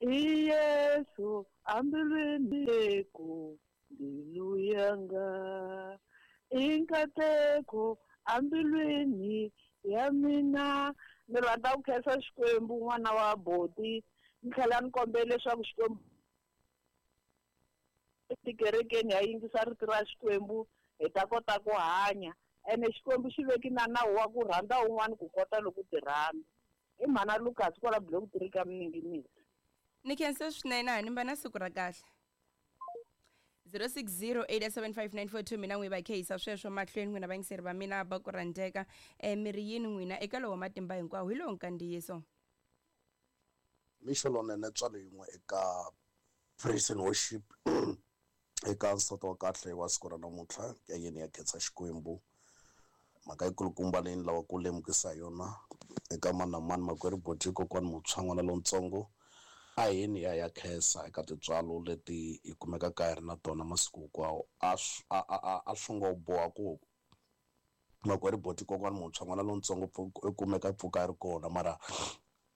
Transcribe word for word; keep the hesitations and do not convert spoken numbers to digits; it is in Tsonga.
I Yesu ambilwini ku mbilu yanga. I nkateko ambilwini ya mina. Ni rhandza ku khensa Xikwembu n'wana wa boti. Ni tlhela ni kombela leswaku Xikwembu etikerekeni ha yingisa rito ra Xikwembu hi ta kota ku hanya. Ene Xikwembu xi veki na nawu wa ku rhandza un'wana ku kota loko ti rhandza. I mhana Lucas kwala block three ka Miningimisi. Ni khense swinene a ni mba na siku ra kahle. zero six zero eight seven five nine four two mina n'wi va khehisa sweswo mahlweni n'wina vayingiseri va mina va ku rhandzeka. Eh miri yini n'wina eka lowo matimba hinkwawo hi lowo nkandziyiso. Mixo lonene tswalo yin'we eka praise and worship eka nsati wa kahle wa siku ra namuntlha ya yini ya khensa Xikwembu. Mhaka yikulukumba leyi ni lava ku lemukisa yona eka mani na mani makwerhu Boti kokwani muntshwa n'wana lontsongo a yini ya ya khensa eka tintswalo leti hi kumekaka hi ri na tona masiku hinkwawo. A swi a a a swi ngo boha ku makwerhu Boti kokwani muntshwa n'wana lontsongo i kumeka pfuka a ri kona mara